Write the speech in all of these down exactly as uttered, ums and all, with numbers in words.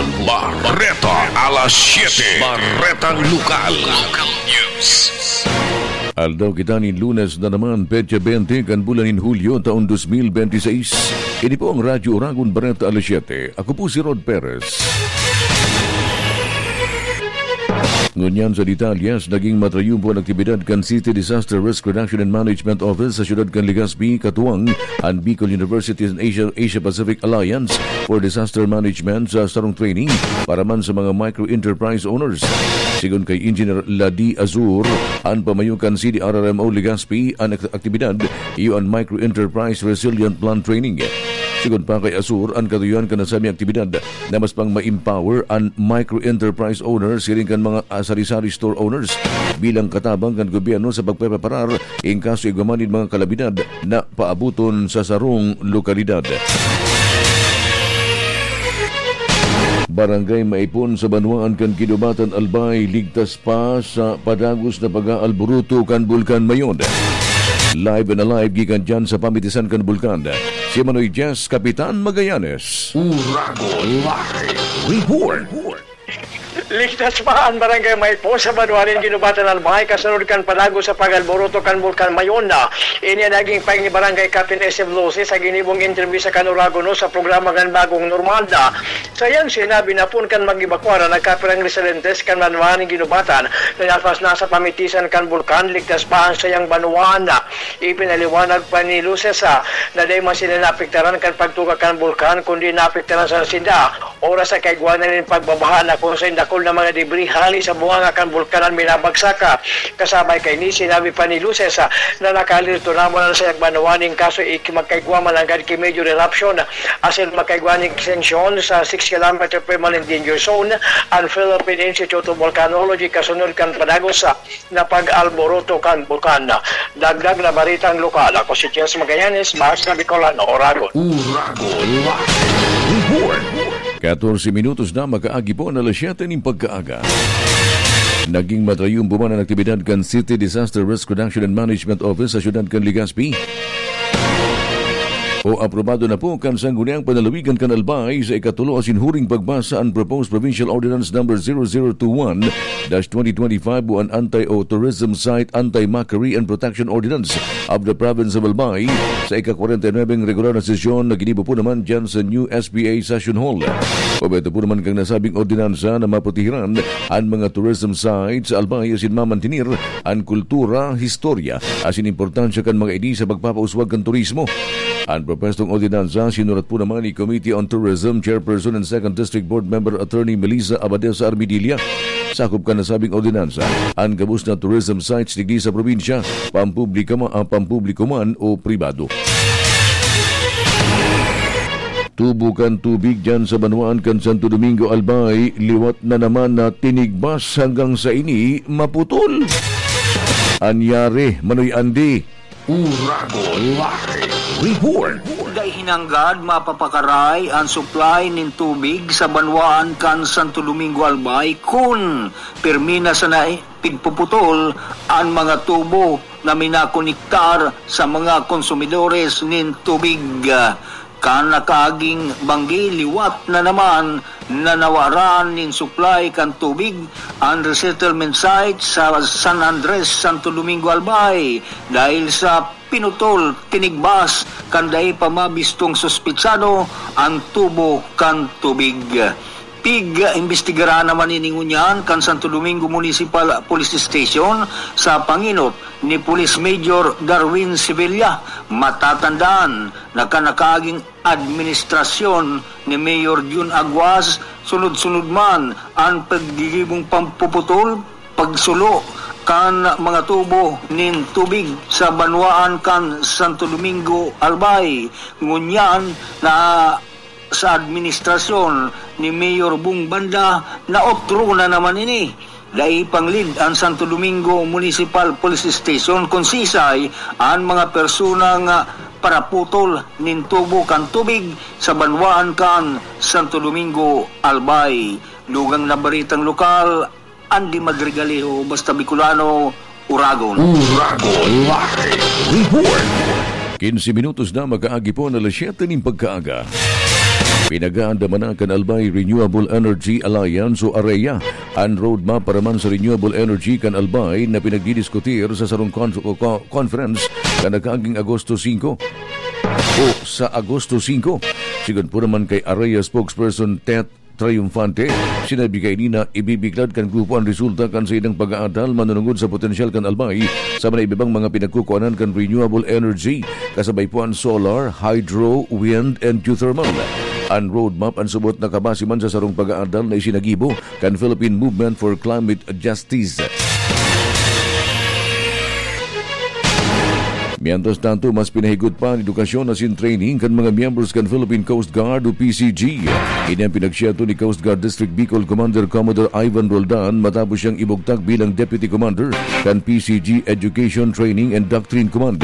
Bareta alas siete. Baretang Lokal. Local News. Aldaw kita nin Lunes na naman, petsa bente kan bulan nin Hulyo, taon dos mil bente seis. Ini po ang Radyo Oragon, Bareta alas siete. Ako po si Rod Perez. Ngunyan sa detalyes, naging matrayon po an aktibidad kan City Disaster Risk Reduction and Management Office sa siyudad kan Legazpi, katuwang an Bicol University and Asia, Asia Pacific Alliance for Disaster Management sa sarong training para man sa mga micro enterprise owners. Sigon kay Engineer Ladi Azur, an pamayo kan C D R R M O Legazpi, an ak-, aktibidad iyo an Micro Enterprise Resilient Plan Training. Sigon pa kay Azur, an katuyohan kan nasabing aktibidad na mas pang ma-empower an micro enterprise owners siring kan mga, ah, sari-sari store owners bilang katabang kan gobyerno sa pagpreparar in kaso igwa man nin mga kalamidad na paaboton sa sarong lokalidad. Barangay Maipon sa banwaan kan Guinobatan, Albay, ligtas pa sa padagos na pag-aalburuto kan Bulkan Mayon. Live and alive gikan dyan sa pamitisan kan bulkan, si Manoy Jess, Kapitan Magallanes. Uragon Live Report. Ligtas pa an Barangay Maipon sa banwaan nin Guinobatan, Albay, kasunod kan padagos sa pag-alburuto kan Bulkan Mayon. Ini an naging pahayag ni Barangay Captain S M Luces sa ginibong entrevista kan Uragon News sa programa kan Bagong Normal. Sa iyang sinabi na poon kan mag-ebakwa na nagkapirang residentes kan banwaan nin Guinobatan na nasa pamitisan kan bulkan, ligtas pa an sayang banwaan. Ipinaliwanag pa ni Luces, ah, na dai man sila naapektaran kan pagtuga kan bulkan, kundi naapektaran sana sinda oras sa kaigwa na nin pagbabaha na kun saen dakul na mga debris hali sa bunganga kan bulkan an minabagsak. Kasabay kaini, sinabi pa ni Luces, ah, na nakaalerto na man an sayang banwaan nin kaso iki magkaigwa man nanggad ki major eruption, asin magkaigwa nin extension sa six kilometer permanent danger zone an Philippine Institute of Volcanology kasunod kan padagos, ah, na pag-alboroto kan bulkan. Dagdag na baretang lokal, ako si Jess Magallanes, Basta Bicolano, Oragon. Uragon Live Report. Katorse minutos na makaagi po na alas siyete nin pagkaaga. Naging matrayon po man an aktibidad kan City Disaster Risk Reduction and Management Office sa siyudad kan Legazpi. O aprobado na po kan Sangguniang Panalawigan kan Albay sa ikatulo asin huring pagbasa an Proposed Provincial Ordinance Number zero zero two one dash twenty twenty-five o an Anti-O Tourism Site, Anti-Mockery and Protection Ordinance of the Province of Albay sa ika-kwarenta y nuwebeng regular na sesyon na ginibo po naman dyan sa New S P A Session Hall. Obheto po naman kan nasabing ordinansa na maprotehiran an mga tourism sites sa Albay asin mamantenir an kultura, historya, asin importansya kan mga ini sa pagpapauswag kan turismo. An propwestong ordinansa sinurat po naman ni Committee on Tourism Chairperson and Second District Board Member Attorney Melissa Abadesa Armidilla. Sakop kan nasabing ordinansa an gabos na tourism sites digdi sa probinsya, pampubliko ma-, ah, pampubliko man o pribado. Tubo kan tubig dyan sa banwaan kan Santo Domingo, Albay, liwat na naman na tinigbas hanggang sa ini maputol. Anyari, Manoy Andy. Uragon Live Report. Dai hinanggad mapapakaray an supply nin tubig sa banwaan kan Santo Domingo, Albay, kun pirmi na sana pigpuputol an mga tubo na minakonektar sa mga konsumidores nin tubig. Kan nakaaging banggi, liwat na naman na nawaran nin supply kan tubig an resettlement site sa San Andres, Santo Domingo, Albay, dahil sa pinutol, tinigbas kan dai pa mabistong suspetsado an tubo kan tubig. Pig-imbestigaran naman ini ngunyan kan Santo Domingo Municipal Police Station sa pangenot ni Police Major Darwin Sevilla. Matatandaan na kan nakaaging administrasyon ni Mayor Jun Aguas, sunod-sunod man an paggigibong pampuputol, pagsulo kan mga tubo nin tubig sa banwaan kan Santo Domingo, Albay. Ngunyan na sa administrasyon ni Mayor Bong Banda na otro na naman ini. Dai panglid an Santo Domingo Municipal Police Station kun sisay an mga personang paraputol nin tubo kan tubig sa banwaan kan Santo Domingo, Albay. Dugang na baretang lokal, Andy Madrigalejo, Basta Bicolano, Uragon. Uragon Live Report. Quince minutos na makaagi po na alas siyete nin pagkaaga. Pinag-aandaman na kan Albay Renewable Energy Alliance o AREA an roadmap para man sa renewable energy kan Albay na pinagdidiskutir sa sarong con- co- conference na nagkaaging Agosto singko o sa Agosto singko. Sigon po naman kay AREA spokesperson Tet Triunfante, sinabi kaini na ibibiklad kan grupo an resulta kan saindang pag-aadal manunungod sa potensyal kan Albay sa mga ibibang mga pinagkukuanan kan renewable energy, kasabay po an solar, hydro, wind, and geothermal. An roadmap an subot na kabase man sa sarong pag-aadal na isinagibo kan Philippine Movement for Climate Justice. Mientras tanto, mas pinahigot pa an edukasyon asin training kan mga miyembros kan Philippine Coast Guard o P C G. Ini ang pinagsiyato ni Coast Guard District Bicol Commander Commodore Ivan Roldan matapos siyang ibugtak bilang Deputy Commander kan P C G Education, Training and Doctrine Command.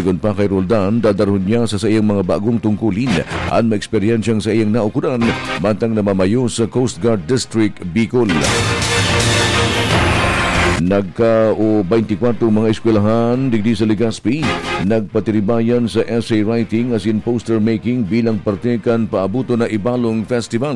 Sigon pa kay Roldan, dadarhon niya sa saiyang mga bagong tungkulin an maeksperiensyang saiyang naukudan mantang namamayo sa Coast Guard District Bicol. Nagka o twenty-four mga eskwelahan digdi sa Legazpi nagpatiribayan sa essay writing asin poster making bilang parte kan paabuton na Ibalong Festival.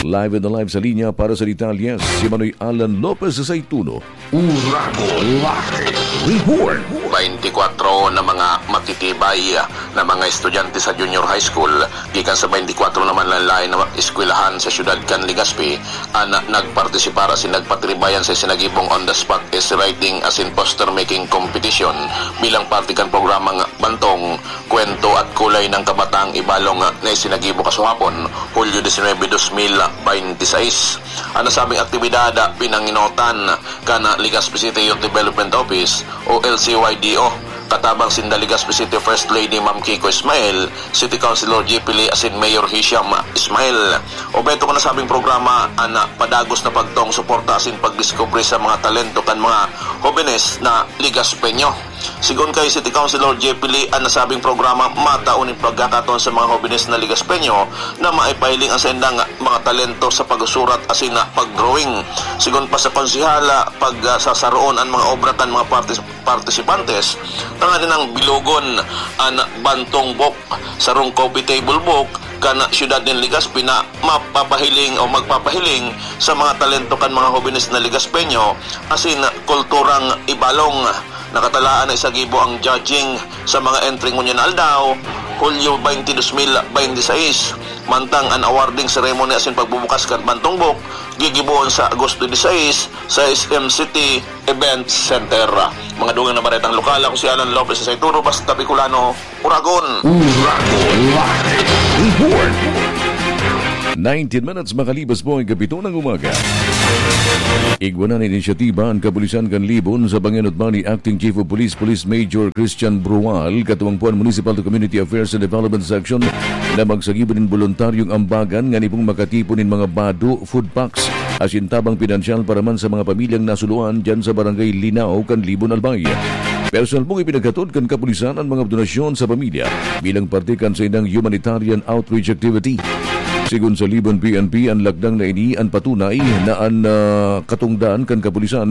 Live and live sa linya para sa detalye, si Manoy Alan Lopez sa Saituno. Uragon Live Report. Twenty-four na mga matitibay na mga estudyante sa junior high school gikan sa twenty-four naman na lain na eskwelahan sa siyudad kan Legazpi an nagpartisipar asin nagpatiribayan sa isinagibong on-the-spot essay writing asin poster making competition bilang parte kan programang Bantong, Kwento at Kulay ng Kabataang Ibalong na isinagibo kasuhapon, Hulyo disinwebe, dos mil bente seis. An nasabing aktibidad pinanginotan kan Legazpi City Youth Development Office o L C Y D O. Katabang sinda Legazpi City First Lady Ma'am Kiko Ismael, City Councilor J P Lee asin Mayor Hisham Ismael. Obheto kan nasabing programa an padagos na pagtong suporta asin pagdiskubre sa mga talento kan mga hobenes na Legazpeño. Sigon kay City Councilor J P Lee, an nasabing programa matao nin pagkakataon sa mga hobenes na Legazpeño na maipahiling an saindang mga talento sa pagsusurat asin pag-drawing. Sigon pa sa konsehal, pagsasaroon an mga obra kan mga partis- partisipantes tanganing bilogon an Bantong Book, sarong coffee table book kan siyudad nin Legazpi na mapapahiling o magpapahiling sa mga talento kan mga hobenes na Legazpeño asin kulturang Ibalong. Nakatalaan na isagibo ang judging sa mga entry ngunyan na aldaw, Hulyo twenty, dos mil bente seis. Mantang an awarding ceremony asin pagbubukas kan Bantong Book gigibohon sa Agosto disais sa S M City Event Center. Mga dugang na baretang lokal, ako si Alan Lopez sa Saituro, Basta Bicolano, Uragon. Uragon Live Report. Nineteen minutes makalipas po ang kapito ng umaga. Igwa na inisyatiba ang kapulisan kan Libon sa pangenot ba ni Acting Chief of Police, Police Major Christian Brual, katuwang po an Municipal Community Affairs and Development Section na magsagibo nin boluntaryong ambagan ngani pong makatipon nin mga bado, food packs, asin tabang pinansyal para man sa mga pamilyang nasuluan diyan sa Barangay Linao kan Libon, Albay. Personal pong ipinaghatod kan kapulisan an mga donasyon sa pamilya bilang parte kan saindang humanitarian outreach activity. Sigon sa Libon P N P, an lakdang na ini an patunay na an, ah, katungdan kan kapulisan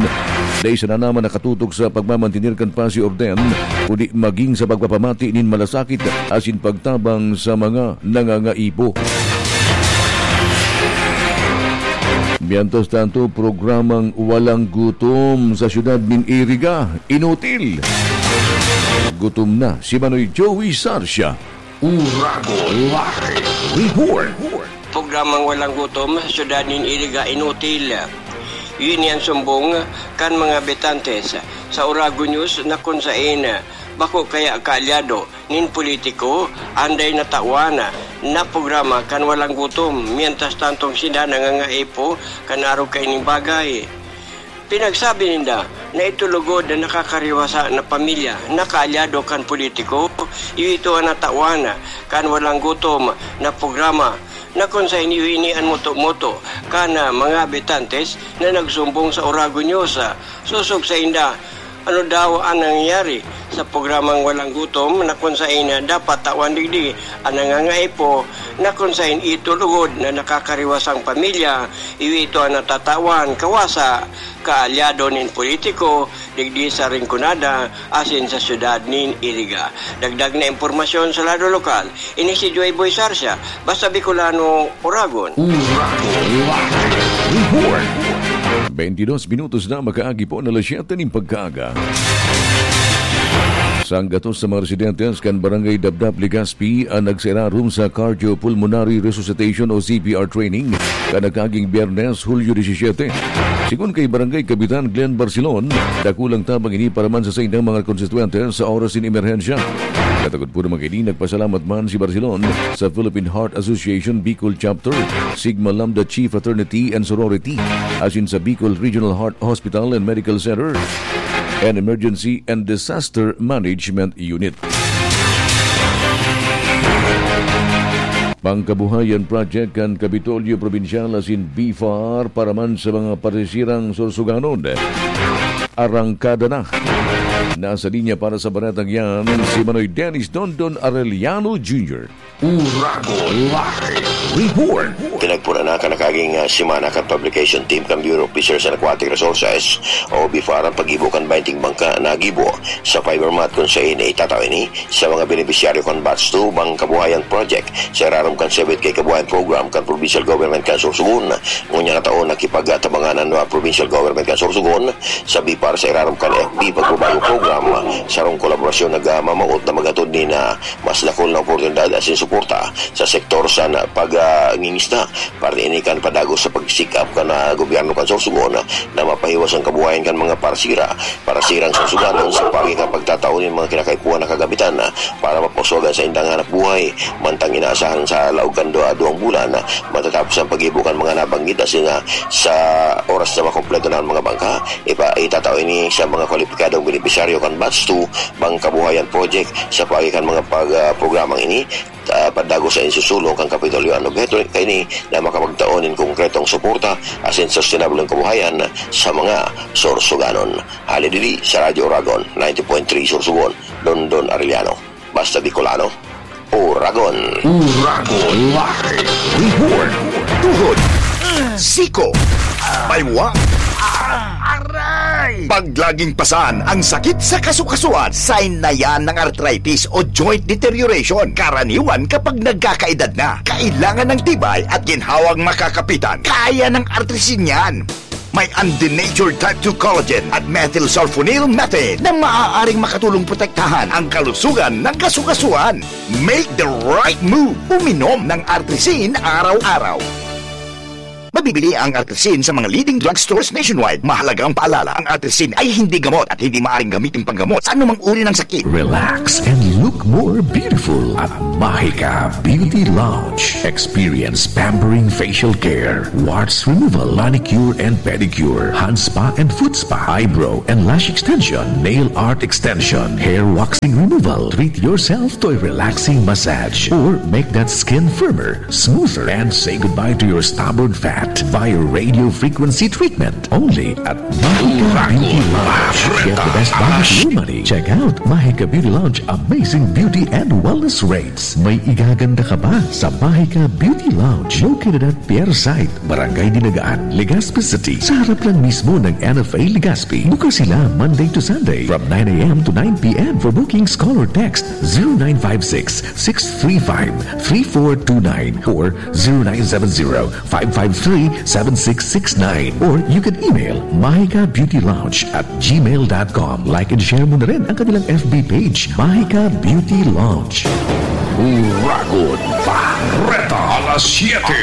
dai sana naman nakatutok sa pagmamantener kan pasi orden, kundi maging sa pagpapamati nin malasakit asin pagtabang sa mga nangangaipo. Mientras tanto, programang Walang Gutom sa siyudad nin Iriga, inutil. Gutom na si Manoy Joey Sarcia. Uragon Live Report. Programang Walang Gutom sa siyudad nin Iriga, inutil. Ini an sumbong kan mga habitantes sa Uragon News na kun sain bako kaya kaalyado nin politiko an dai natawan na programa kan Walang Gutom, mientras tantong sinda nangangaipo kan arog kaining bagay. Pinagsabi ninda na ito lugod na nakakariwasa na pamilya na kaalyado kan politiko, iyo ito an natawan kan Walang Gutom na programa na kun saen iyo ini an moto-moto kan, ah, mga habitantes na nagsumbong sa Uragon News. Sosog sainda, Ano daw ang nangyayari sa programang Walang Gutom na kung sain dapat tawan digdi ang nangangaipo na kung sain itulugod na nakakariwasang pamilya, iyo ito ang natatawan kawasa kaalyado nin politiko digdi sa Rinconada asin sa syudad nin Iriga. Dagdag na impormasyon sa lado lokal, ini si Joy Boy Sarsia, basta Bicolano, Oragon. Oragon Live Report. Twenty-dos minutos na makaagi po na alas siyete nin pagkaaga. Sanggatos sa mga residentes kan Barangay Dabdab, Legazpi, an nagsairarom sa cardiopulmonary resuscitation o C P R training kan nakaaging Biyernes, Hulyo disisiyete. Sigon kay Barangay Kapitan Glenn Barcelon, dakulang tabang ini para man sa saindang mga konstituyente sa oras nin emerhensya. Katakod po naman kaini, nagpasalamat man si Barcelon sa Philippine Heart Association Bicol Chapter, Sigma Lambda Chi Fraternity and Sorority, asin sa Bicol Regional Heart Hospital and Medical Center and Emergency and Disaster Management Unit. Pangkabuhayan Project kan Kapitolyo Probinsyal asin BFAR para man sa mga parsisirang Sorsoganon. Arangkada na. Nasa linya para sa baretang yan, si Manoy Dennis Dondon Arellano Junior. Uragon Live Report. Pinagpuna na kan nakaaging, ah, semana kan Publication Team kan Bureau of Fisheries and Aquatic Resources o BFAR ang paggibo kan baynting bangka na gibo sa fiber mat, kun sain itatao ini sa mga benepisyaryo kan Batch two Bangkabuhayan Project sa irarom kan Sebit kay Kabuhayan Program kan Provincial Government kan Sorsogon. Ngunyan na taon, nakipagtabangan an, ah, Provincial Government kan Sorsogon sa BFAR sa irarom kan F B Pagbabago Program, sarong kolaborasyon nagmamawot na maghatod nin, ah, mas dakul na oportunidad asin suporta sa sektor sa na-, pag, ah, ngingisda. Parte ini kan padagos sa pagsikap kan, ah, gobyerno kan Sorsogon na mapahiwas an kabuhayan kan mga parsira, parsirang Sorsoganon sa paagi kan pagtatao nin mga kinakaipuhan na kagamitan, ah, para mapauswagan sa indang hanap buhay. Mantang inaasahan sa laog kan dua, duwang bulan, ah, matatapos ang paggibo kan mga nabanggit asin, ah, sa oras na makompleto na an mga bangka, ipa-, itatao ini sa mga kwalipikadong benepisyaryo kan Batch two Bangkabuhayan Project. Sa paagi kan mga pag-, ah, programang ini, ah, padagos sa insusulong kan Kapitolyo. An obheto kaini na makapagtao nin konkretong suporta asin sustainable na kabuhayan sa mga Sorsoganon. Hali diri sa Radyo Oragon, ninety point three Sorsogon, Dondon Arellano. Basta Bicolano, Oragon. Oragon Live Report. Tuhod, siko, baywa, aray. Pag laging pasan ang sakit sa kasukasuan, sign na yan ng arthritis o joint deterioration. Karaniwan kapag nagkakaedad na, kailangan ng tibay at ginhawang makakapitan. Kaya ng Artrisin yan. May undenatured type two collagen at methylsulfonyl methane na maaaring makatulong protektahan ang kalusugan ng kasukasuan. Make the right move. Uminom ng Artrisin araw-araw. Mabibili ang Artrisin sa mga leading drugstores nationwide. Mahalagang paalala, ang Artrisin ay hindi gamot at hindi maaaring gamitin panggamot sa anumang uri ng sakit. Relax and look more beautiful at Mahika Beauty Lounge. Experience pampering facial care, warts removal, manicure and pedicure, hand spa and foot spa, eyebrow and lash extension, nail art extension, hair waxing removal. Treat yourself to a relaxing massage or make that skin firmer, smoother, and say goodbye to your stubborn fat via radio frequency treatment. Only at Mahika Beauty Lounge. Get the best bang for your money. Check out Mahika Beauty Lounge amazing beauty and wellness rates. May igaganda ka ba sa Mahika Beauty Lounge? Located at Pier site, Barangay Dinagaan, Legazpi City, sa harap lang mismo ng N F A Legazpi. Bukas sila Monday to Sunday from nine a m to nine p m. For bookings, call or text zero nine five six, six three five, three four two nine or zero nine seven zero, five five three, seven six six nine. Or you can email mahika beauty lounge at gmail dot com. Like and share mo na rin ang kanilang F B page, Mahika Beauty Lounge. Uragon Bareta, alas siyete.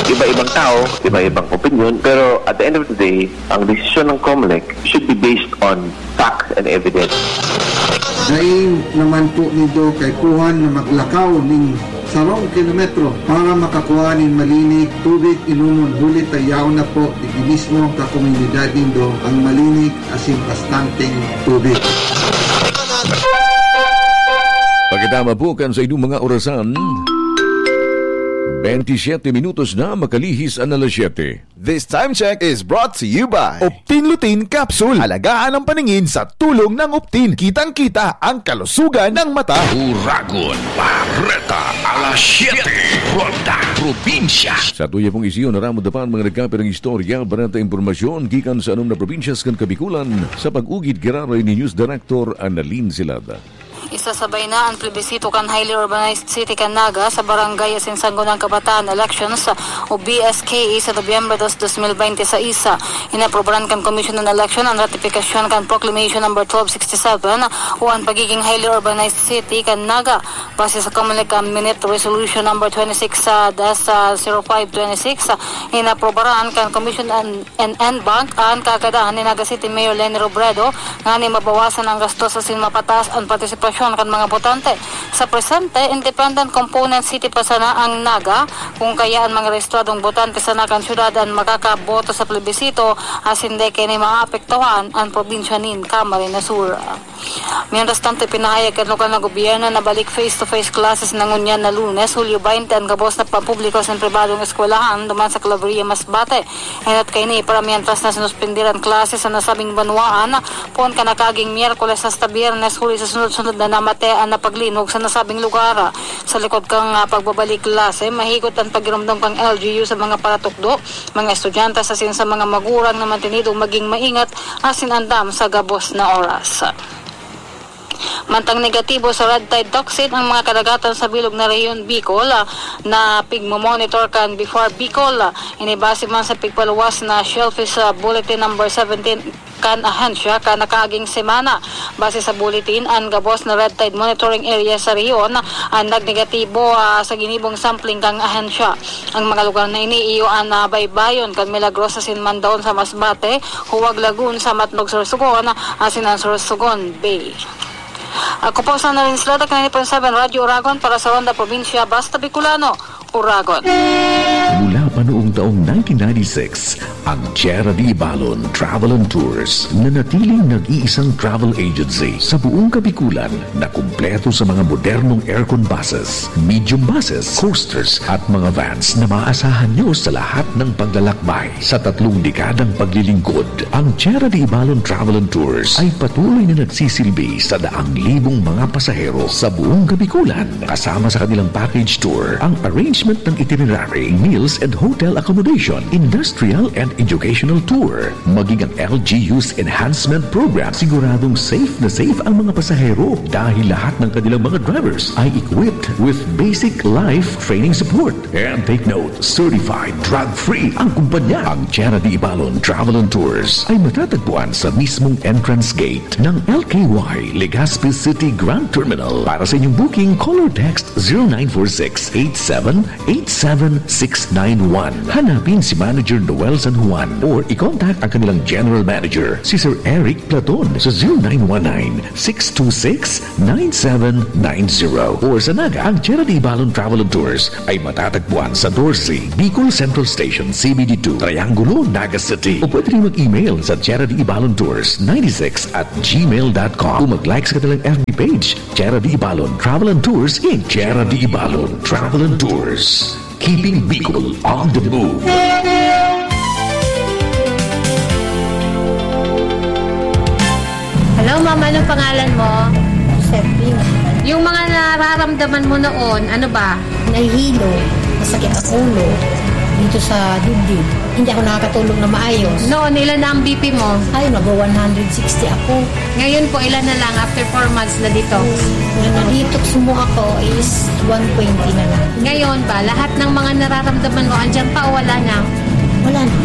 Iba-ibang tao, iba-ibang opinyon, pero at the end of the day, ang desisyon ng Comelec should be based on facts and evidence. Dai naman po nindo kaipuhan na maglakaw nin sarong kilometro para makakua nin malinig tubig inomon, huli ta yaon na po digdi mismo kan komunidad nindo ang malinig asin bastanteng tubig. Pagkatama po kan sa inyong mga orasan, Twenty-siete minutos na makalihis an alas siyete. This time check is brought to you by Optin Lutein Capsule. Alagaan ang paningin sa tulong ng Optin. Kitang-kita ang kalusugan ng mata. Uragon, Bareta, alas siyete, Ronda, Probinsya. Sa tuya pong isiyo, naramod na pa ang mga nagkapirang istorya, bareta, impormasyon gikan sa anom na probinsyas kan Kabikulan, sa pag-ugid giraray ni News Director Annalyn Silada. Isasabay na an plebisito kan highly urbanized city kan Naga sa barangay asin Sangguniang Kabataan Elections o B S K E sa Nobyembre dos, dos mil bente sa isa. Inaprobaran kan Komisyon ng Eleksyon an ratifikasyon kan Proclamation Number twelve sixty-seven o an pagiging highly urbanized city kan Naga. Base sa Comelec Minute Resolution Number twenty-six sa das, ah, zero five twenty-six, inaprobaran kan Commission an and N Bank an kagadan ni Naga City Mayor Leni Robredo nganing mabawasan ang gastos asin mapataas an partisipasyon kan mga botante. Sa presente, independent component city pa sana ang Naga, kung kaya an mga rehistradong botante sana kan syudad an makakaboto sa plebisito asin dai kaini maapektuhan an probinsya nin Camarines Sur. Mientras tanto, ipinahayag kan lokal na gobyerno na balik face-to-face classes na ngunyan na Lunes, Hulyo bente, an gabos na pampubliko asin pribadong eskwelahan duman sa Claveria, Masbate. Enot kaini, para mientras na sinuspender an klase sa nasabing banwaan, poon kan nakaging Miyerkules hasta Biyernes, huli sa sunod-sunod na namatean na paglinog sa nasabing lugar. Sa likod kan, ah, pagbabalik klase, mahigot an pagiromdom kan L G U sa mga paratukdo, mga estudyante asin sa mga magurang na mantenidong maging maingat asin andam sa gabos na oras. Mantang negatibo sa red tide toxin ang mga kadagatan sa bilog na rehiyon Bicol, ah, na pigmomonitor kan BIFAR Bicol. Ini base man sa pigpaluwas na Shellfish, ah, Bulletin Number seventeen kan ahensya kan nakaaging semana. Base sa bulletin, an gabos na red tide monitoring area sa rehiyon an nagnegatibo, ah, sa ginibong sampling kan ahensya. Ang mga lugar na ini iyo an, ah, baybayon kan Milagrosa asin Mandaon sa Masbate, Huwag Lagoon sa Matnog, Sorsogon, asin an Sorsogon Bay. Ako po sa Narin Slota, ninety point seven Radyo Uragon para sa Ronda Probinsya, Basta Bicolano, Uragon. Mula pa noong taong nineteen ninety-six, ang Tierra de Ibalon Travel and Tours, nanatiling nag-iisang travel agency sa buong Kabikulan na kumpleto sa mga modernong aircon buses, medium buses, coasters, at mga vans na maaasahan nyo sa lahat ng paglalakbay. Sa tatlong dekadang paglilingkod, ang Tierra de Ibalon Travel and Tours ay patuloy na nagsisilbi sa daang libong mga pasahero sa buong Kabikulan. Kasama sa kanilang package tour, ang arrangement ng itinerary, meals and hotel accommodation, industrial and educational tour, maging ang L G U's enhancement program. Siguradong safe na safe ang mga pasahero dahil lahat ng kanilang mga drivers ay equipped with basic life training support. And take note, certified drug-free ang kumpanya. Ang Tierra de Ibalon Travel and Tours ay matatagpuan sa mismong entrance gate ng L K Y Legazpi City Grand Terminal. Para sa inyong booking, call or text zero nine four six eight seven eight seven six nine one. Hanapin si Manager Noel San Juan or i-contact ang kanilang General Manager, si Sir Eric Platon, sa zero nine one nine six two six nine seven nine zero. Or sa Naga, ang Tierra de Ibalon Travel and Tours ay matatagpuan sa doce, Bicol Central Station, C B D two, Triangulo, Naga City. O pwede rin mag-email sa Tierra de Ibalon Tours ninety-six at gmail dot com o mag-like sa kanilang F B page, Tierra de Ibalon Travel and Tours, Incorporated. Tierra de Ibalon Travel and Tours, keeping Bicol on the move. Hello, ma'am. Anong pangalan mo? Josephine. Yung mga nararamdaman mo noon, ano ba? Nahihilo. Masakit ang ulo. Dito sa dibdib. Hindi ako nakakatulog na maayos. Noon, ilan na ang B P mo? Ay, nag-one hundred sixty ako. Ngayon po, ilan na lang after four months na detox? Nung na-detox mo ako is one twenty na lang. Ngayon ba, lahat ng mga nararamdaman mo, andyan pa o wala na? Wala na.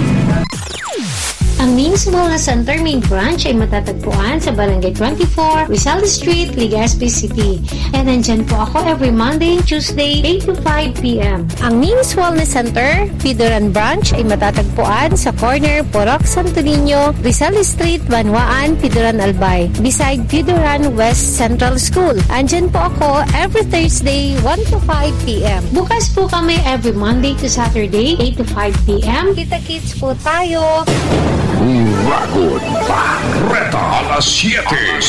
Ang Means Wellness Center main branch ay matatagpuan sa Barangay twenty-four, Rizal Street, Legazpi City. And nandyan po ako every Monday and Tuesday, eight to five p.m. Ang Means Wellness Center, Pidoran Branch, ay matatagpuan sa corner Purok Santo Niño, Rizal Street, Banwaan, Pidoran, Albay, beside Pidoran West Central School. Andyan po ako every Thursday, one to five p.m. Bukas po kami every Monday to Saturday, eight to five p.m. Kita-kits po tayo. Uragon, Bareta, alas siyete.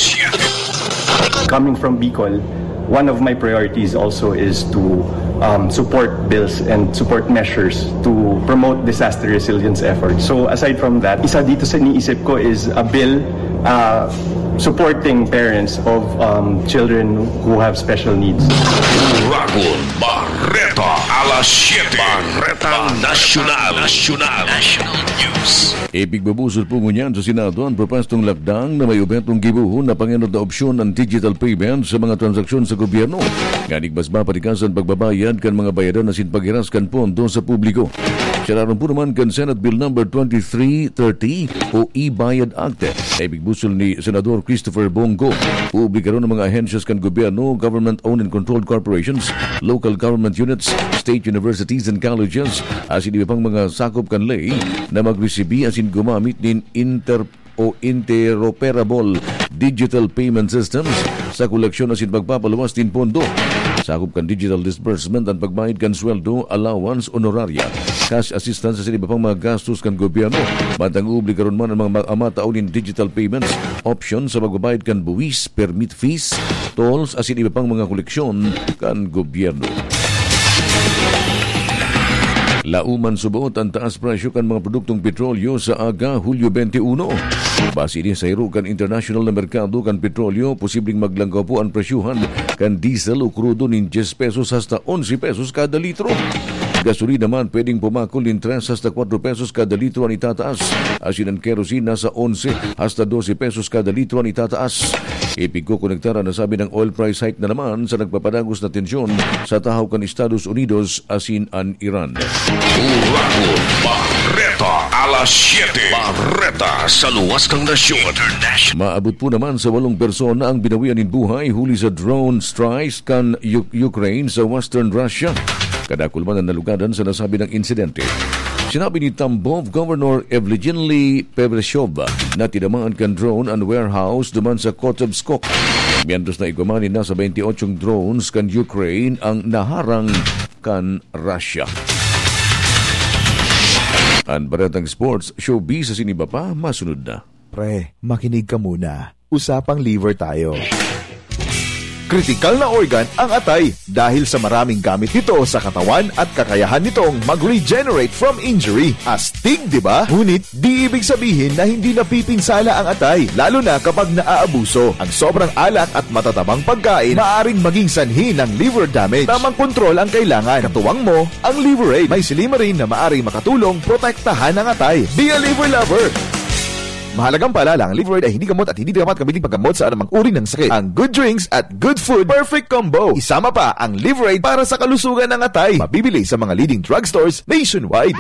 Coming from Bicol, one of my priorities also is to um, support bills and support measures to promote disaster resilience efforts. So aside from that, isa dito sa iniisip ko is a bill uh, supporting parents of um, children who have special needs. Ragon Barreta, alas siyete. Barretang Nasyonal. Nasyonal. National News. Ipigbubusol po ngunyan sa Senado ang propwestong lakdang na may objetong gibohon na pangenot na opsyon ang digital payment sa mga transaksyon sa gobyerno. Nganing mas mapatigas ang pagbabayad kan mga bayadan asin paghiras kan pondo sa publiko. Siya naman po naman kan Senate Bill Number twenty-three thirty o e-Bayad Act na ipigbusol ni Senador Christopher Bongo. Publikaron ang mga ahensyas kan gobyerno, government-owned and controlled corporations, local government units, state universities and colleges, asin iba pang mga sakop kan ley na magresibi asin gumamit nin inter o interoperable digital payment systems sa koleksyon asin pagpapaluwas nin pondo. Sakop kan digital disbursement ang pagbayad kan sweldo, allowance, honoraria, cash assistance asin iba pang mga gastos kan gobyerno. Mantang obligaron man ang mga ma- matao nin digital payments option sa pagbabayad kan buwis, permit fees, tolls asin iba pang mga koleksyon kan gobyerno. Lauman subot ang taas presyo kan mga produktong petrolyo sa aga, Hulyo twenty-one. Base ini sa hiro kan internasyonal na merkado kan petrolyo, posibleng maglangkaw po an presyuhan kan diesel o krudo nin diyes pesos hasta onse pesos kada litro. Gasolina man pwedeng pumakol nin tres hasta kwatro pesos kada litro an itataas. Asin an kerosene nasa onse hasta dose pesos kada litro an itataas. Ipigkokonektar an nasabi ng oil price hike na naman sa nagpapadagos na tensyon sa tahaw kan Estados Unidos asin an Iran. Uragon Barreta, alas siyete. Barreta sa luwas kan nasyon. International. Maabot po naman sa walong persona ang binawian nin buhay huli sa drone strikes kan U- Ukraine sa western Russia. Kadakul man ang nalugadan sa nasabi ng insidente. Sinabi ni Tambov Governor Evgeny Pebreshov na tinamaan kan drone an warehouse duman sa Kotovskok. Mientras na igwa man nin nasa twenty-eight drones kan Ukraine ang naharang kan Russia. An baretang sports, showbiz asin iba pa, masunod na. Pre, makinig ka muna. Usapang liver tayo. Kritikal na organ ang atay dahil sa maraming gamit nito sa katawan at kakayahan nitong mag-regenerate from injury. Astig, di ba? Ngunit di ibig sabihin na hindi napipinsala ang atay, lalo na kapag naaabuso. Ang sobrang alak at matatabang pagkain maaring maging sanhi ng liver damage. Tamang kontrol ang kailangan. Katuwang mo ang Liver Aid. May silymarin na maaring makatulong protektahan ang atay. Be a liver lover! Mahalagang paalala, ang Liver Aid ay hindi gamot at hindi dapat gamitin paggamot sa anumang uri ng sakit. Ang good drinks at good food, perfect combo. Isama pa ang Liver Aid para sa kalusugan ng atay. Mabibili sa mga leading drugstores nationwide.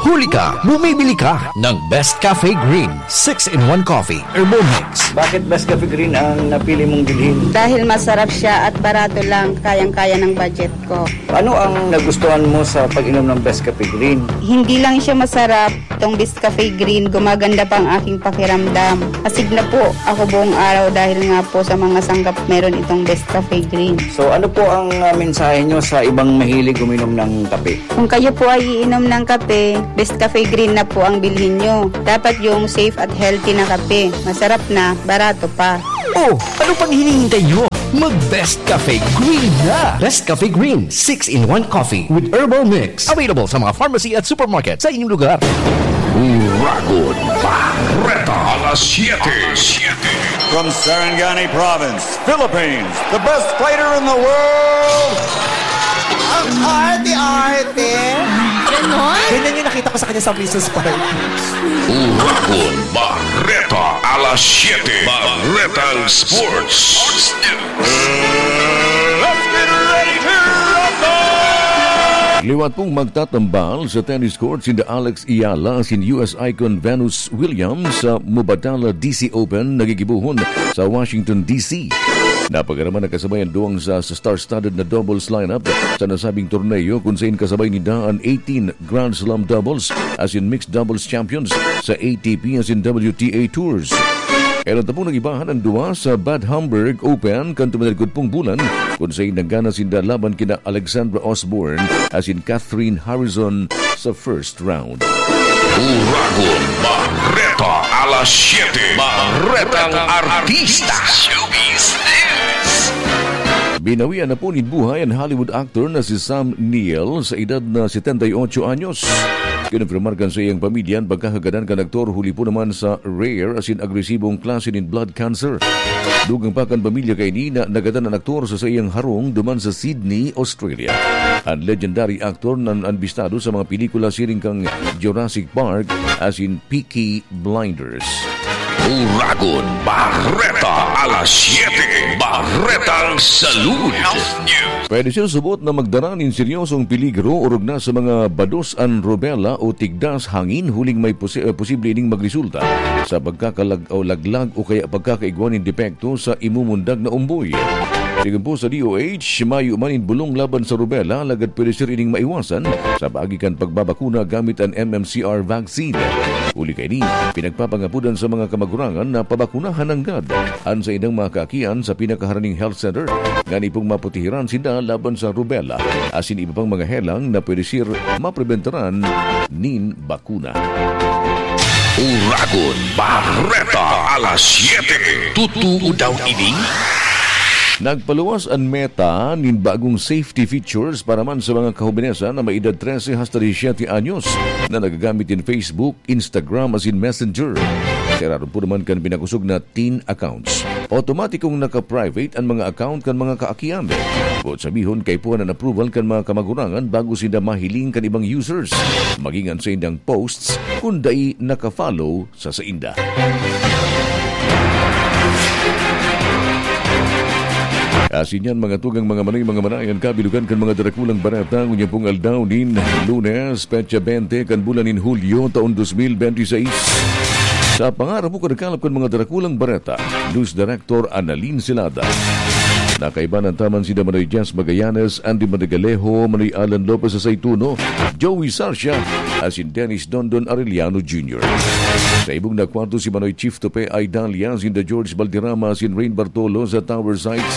Huli ka, bumibili ka ng Best Cafe Green six-in-one Coffee Herbal Mix. Bakit Best Cafe Green ang napili mong bilhin? Dahil masarap siya at barato lang, kayang-kaya ng budget ko. Ano ang nagustuhan mo sa pag-inom ng Best Cafe Green? Hindi lang siya masarap, itong Best Cafe Green, gumaganda pa ang aking pakiramdam. Astig na po ako buong araw dahil nga po sa mga sangkap meron itong Best Cafe Green. So ano po ang ah, mensahe nyo sa ibang mahilig uminom ng kape? Kung kayo po ay iinom ng kape, Best Cafe Green na po ang bilhin nyo. Dapat yung safe at healthy na kape. Masarap na, barato pa. Oh, ano pang hinihintay nyo? Mag Best Cafe Green na! Best Cafe Green six-in-one Coffee with Herbal Mix. Available sa mga pharmacy at supermarket sa inyong lugar. Uragon Barreta, alas siyete. From Sarangani Province, Philippines, the best fighter in the world, ang arte-arte. Ganon? Ganyan yung nakita ko sa kanya sa Missus Park. Uragon Barreta, alas siyete. Barretang Sports. Let's get ready to rumble! Liwat pong magtatambal sa tennis court sinda Alex Eala asin U S icon Venus Williams sa Mubadala D C Open na gigibohon sa Washington, D C. Napagaraman na kasabay ang duwang sa, sa star-studded na doubles lineup sa nasabing torneo, kung sain kasabay ninda an eighteen Grand Slam doubles asin mixed doubles champions sa A T P asin W T A tours. Eran tapong nag-ibahan ang duwa sa Bad Homburg Open kan tuminalgod pong bulan, kung sain nanggana sinda laban kina Alexandra Osborne asin Catherine Harrison sa first round. Uragon Barreta, alas siyete. Barretang Artista. Showbiz News. Pinawian na po nin buhay an Hollywood actor na si Sam Neill sa edad na setenta y ocho anyos. Kinumpirmar kan saiyang pamilya an pagkakagadan kan aktor huli po naman sa rare asin agresibong klase nin blood cancer. Dugang pa kan pamilya kaini na nagadan an aktor sa saiyang harong duman sa Sydney, Australia. An legendary actor na ambistado sa mga pelikula siring kan Jurassic Park asin Peaky Blinders. Uragon Barreta, alas siyete, Barretang Salud. Health News. Pwede siya subot na magdara nin seryosong peligro orog na sa mga bados an rubella o tigdas hangin, huling may posi-, eh, posible ining magresulta sa pagkakalag-, o laglag o kaya pagkakaigwa nin depekto sa imumundag na umboy. Sigon po sa D O H, mayo man nin bulong laban sa rubella, lagad pwede siring ining maiwasan sa paagi kan pagbabakuna gamit an M M C R vaccine. Huli kaini, pinagpapangapodan sa mga kamagurangan na pabakunahan nanggad an saindang mga kaakian sa pinakaharaning health center, ngani pong maprotehiran sinda laban sa rubella asin iba pang mga helang na pwede sir maprobentaran nin bakuna. Uragon Barreta, alas siyete. Totoo daw ini? Nagpaluwas an Meta nin bagong safety features para man sa mga kahobenesan na may edad trese hasta disisiyete anyos na nagagamit nin Facebook, Instagram asin Messenger. Sa irarom po naman kan pinakosog na teen accounts, otomatikong naka-private an mga account kan mga kaakian. Boot sabihon, kaipuhan an approval kan mga kamagurangan bago sinda mahiling kan ibang users, maging an saindang posts kun dai naka-follow sa sainda. Asin yan, mga tugang, mga manoy, mga manay, an kabilugan kan mga darakulang bareta ngunyan pong aldaw nin Lunes, petsa bente kan bulan nin Hulyo, taon dos mil bente y seis. Sa pangarap po kan kalap kan mga darakulang bareta, News Director Annalyn Celada. Nakaiba na taman sinda Manoy Jazz Magallanes, Andy Manigalejo, Manoy Alan Lopez Aceituno, Joey Sarcia, asin Dennis Dondon Arellano Junior. Sa ibong na kwarto si Manoy Chief Tope Idalia, sinda George Valderrama, asin Rain Bartolo sa Tower Sites.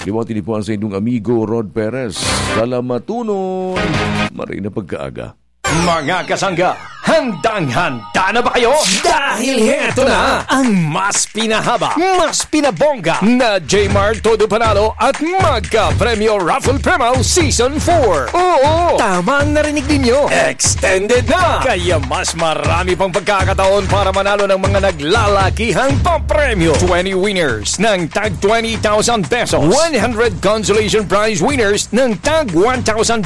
Liwati ni po an saindong amigo Rod Perez. Salamatunon! Maray na pagkaaga. Mga kasangga, handang-handa na ba kayo? Dahil heto na ang mas pinahaba, mas pinabongga na J-Mart Todo Panalo at Magka Premyo Raffle Premaw Season four. Oo, tama ang narinig ninyo. Extended na! Kaya mas marami pang pagkakataon para manalo ng mga naglalakihang papremyo. Twenty winners ng tag twenty thousand pesos. One hundred consolation prize winners ng tag one thousand